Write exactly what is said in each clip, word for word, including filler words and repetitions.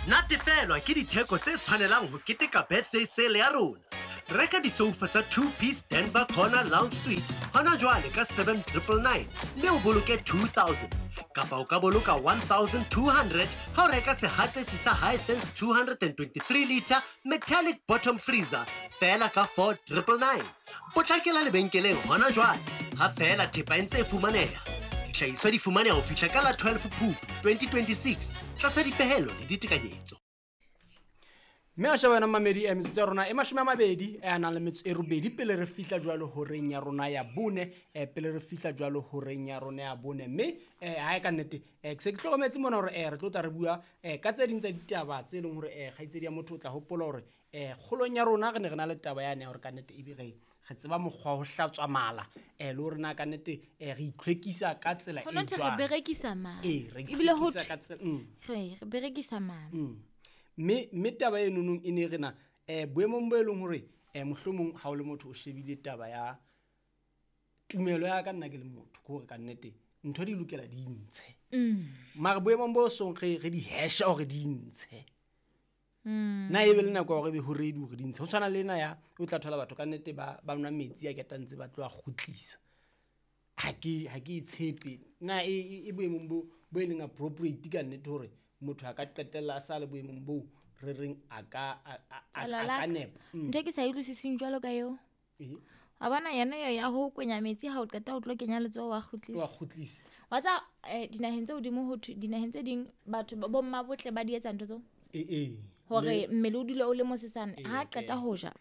Natefelwa ke ditheko tse tshwanelang ho keteka birthday sale ya rona. Reka disoufa tsa two-piece Denver Corner Lounge Suite hona jwale ka seven triple nine mme o boloke two thousand. Kapa o ka boloka one thousand two hundred ha o reka sehatsetsi sa Hisense two hundred and twenty-three liter metallic bottom freezer feela ka four triple nine. Potlakela lebenkeleng hona jwale ha feela thepa e ntse e fumaneha. Dihlahiswa di fumaneha ho fihla ka la twelve Phupu twenty twenty-six tlasa dipehelo le ditekanyetso. Mme a sheba yona mamedi, eh, metsotso ya rona e mashome a mabedi, eh, a nang le metso e robedi pele re fihla jwalo horeng ya rona ya bone, eh, pele re fihla jwalo horeng ya rona ya bone. Mme, eh, ha e ka nnete, eh, ke se ke hlokometse mona hore, eh, re tlo tla re bua, eh, ka tse ding tsa ditaba tse leng hore, eh, kgaitsedi ya motho o tla hopola hore, eh, kgolong ya rona re ne re na le taba yane ya hore ka nnete ebe re, re tseba mokgwa wa ho hlatswa mala, eh, le hore na ka nnete, eh, re itlhwekisa ka tsela Ho e no thwe re jwang. berekisa mala. Ee, re Ebile ho itlhwekisa thwe ka tsela, mm. re, re berekisa mala. Mm. Mme, mme taba e nonong e ne re na, eh, boemong bo e leng hore, eh, mohlomong ha o le motho o shebile taba ya tumelo ya ka nna ke le motho, ke hore ka nnete ntho di lokela di ntshe. Mm. Mara boemong bo song re, re di hasha hore di ntshe. Mm. Na ebe le nako ya hore ebe ho ready hore di ntshe. Ho tshwana le ena ya, o tla thola batho ka nnete ba, ba nwa metsi a ketang ntse ba tlo a kgutlisa. Ha ke, ha ke e tshepe. Na e, e, e boemong bo, bo e leng appropriate ka nnete hore motho a ka qetella a sa le boemong boo re reng a ka, a, a, a, a Tswala ka la ka. nepa. Mm. Ntho e ke sa e utlwisiseng jwalo ka eo. Ee. Wa bona yona eo ya ho kwenya metsi ha o qeta o tlo kenya letsoho wa kgutlisa. Wa kgutlisa. Wa tseba, eh, dinaheng tse hodimo ho thwe, dinaheng tse ding batho ba, bomma botle ba di etsa ntho tseo. Ee, ee. Hore Le mmele o dule o le mosesane. Ee, Ha qeta ee. ho ja,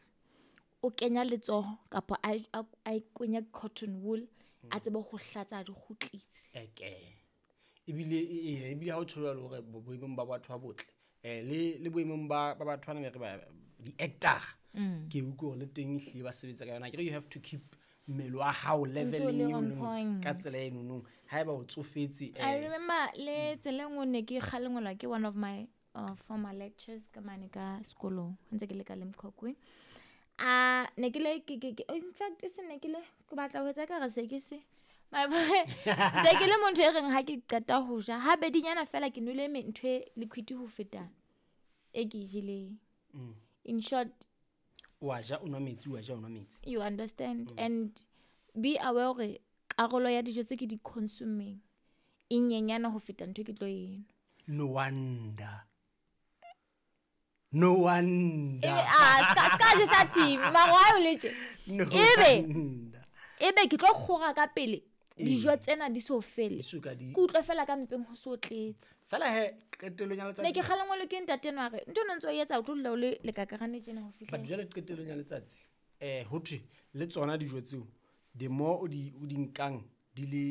o kenya letsoho kapa a, a, a kwenya cotton wool, a tsebe ho hlatsa a di kgutlise. Eke. Ebile, e, e, ebile ha o tjho jwalo hore bo-, boemong ba batho ba botle, eh, le, le boemong ba, ba batho bana be re ba, di-actor. Mm. Ke utlwe hore le teng ehlile ba sebetsa ka yona. Akere you have to keep mmele wa hao O ntso o leveleng le eo on leng point. ka tsela e nonong. Haeba o tsofetse, I eh, remember le tsela e nngwe ne ke kgalengwelwa ke one of my, uh, former lectures ka mane ka sekolong, ha ntse ke le ka Limkokwing. Ah, ne ke le, ke, ke, ke, oh, in fact, e se ne ke le, ke batla ho etsa ekare se ke se. My boy, ntse ke le motho e reng ha ke qeta ho ja, ha bedinyana fela ke nwele me-, ntho e liquid ho feta e ke e jeleng. Mm. In short, Wa ja, o nwa metsi, wa ja, o nwa metsi. You understand? Mm. And be aware hore karolo ya dijo tse ke di consuming e nyenyana ho feta ntho e ke tlo e nwa. No wonder. No wonder. Ebe, ah, ska, ska je sa team, mara why o le tje? No Ebe, wonder. ebe ke tlo kgora ka pele, Ee. dijo tsena di so fele. Di so ka di Ke utlwe fela ka mpeng ho so tletse. Fela he, qetellong ya letsatsi. Ne ke kgalengwelwe ke ntate enwa a re, ntho eno ntse o e etsa, o tlo dula o le lekakarane tjena ho fihlela. But jwale qetellong ya letsatsi, eh, ho thwe le tsona dijo tseo, the more o di, o di nkang, di le,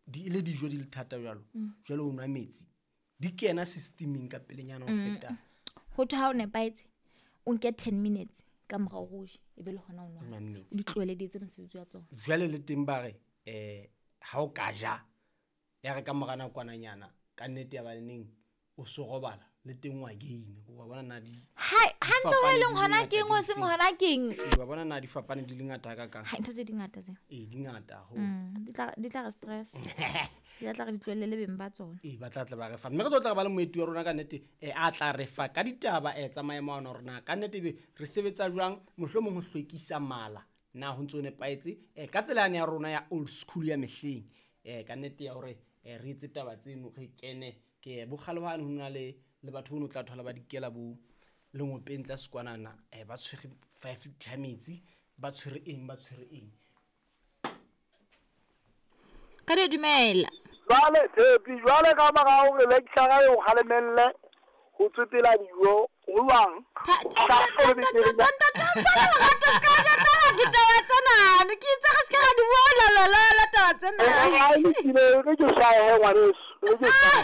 di le dijo di le thata jwalo, Mm. jwale o nwa metsi, di kena systeming ka pelenyana ho Mm. feta. Ho thwe ha o nepahetse, o nke ten minutes ka morao ho je, ebe le hona o nwa. O nwa metsi. O di tlohele di etse mosebetsi wa tsona. Jwale le teng ba re, eh, ha o ka ja, ya re ka mora nakwananyana, ka nnete ya ba neng o so robala, le teng wa gain-a. Wa bona na di Hai, ha ntse ho fapane e leng di hona ngata keng, di ho seng feng? hona keng? Ee, wa bona na di fapane di le ngata hakakang? Hai, ntho tse di ngata tse. Ee, di ngata haholo. Mm, di tla, di tla re stress. Di tla tla re di tlohelle le beng ba tsona. Ee, ba tla tla ba re fa. Mme re tlo tla re ba le moeti wa rona ka nnete, eh, a tla re fa ka ditaba, eh, tsa maemo ana hore na ka nnete ebe re sebetsa jwang, mohlomong ho hlwekisa mala, na ho ntso nepahetse, eh, ka tsela yane ya rona ya old school ya mehleng, eh, ka nnete ya hore, eh, re etse taba tseno, re kene, ke bokgale hwane ho na le, le batho bono tla thola ba dikela bo lengopeng tlase kwanana, eh, ba tshwere five liter ya metsi, ba tshwere eng, ba tshwere eng. Ka di dumela. Jwale, Tshepi, jwale ka mora hore lecturer e o kgalemelle ho tswetela dijo, ho jwang? Tha-, tha-, tha-, tha-, tha-, tha-, tha-, tha-, tha-, tha-, tha-, tha-, tha-, ditaba tsena, ne ke itse re se ke ra di bua, la, la, la, la, taba tsena. Eh, eh, ha e lokile, re ke hlahe, ngwaneso, re ke hlahe.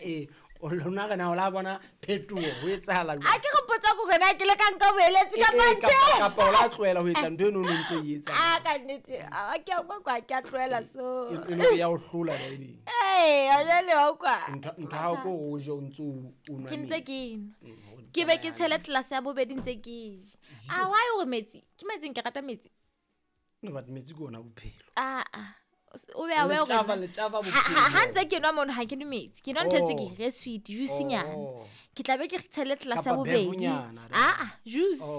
Ee, o lona re na o la bona phetoho, ho etsahala jwang? Ha ke re potsa ko rena, ke le ka nka boeletsi Eh, kapa eh, tjhe? kapa, kapa o la tlohela ho etsa ntho eno o no ntse o e etsa. Ah, ka nnete, ah, ke a utlwa kwa, ke a tlohela so. E, e le hore ya o hlola ba e leng. Ee, a jwale wa utlwa. Ntho, ntho ha o ko o je o ntse o, o nwa Ke ntse metsi. ke nwa. Mm, ho Ke be ke tsamaya tshele hantle. tlelase ya bobedi ntse ke ja. Ah, why hore metsi? Ke metsi, ke rata metsi. No, but metsi ke ona bophelo. Ah, ah. o be aware hore Letaba, nna- letaba Ha- ha ha bophelo. ntse ke nwa mono ha ke nwe metsi ke nwa ntho e Oh. tswekere e sweet juice nyana Oh. ke tla be ke tshele tlelase ya Kapa bobedi bevunyana, aa juice Oh.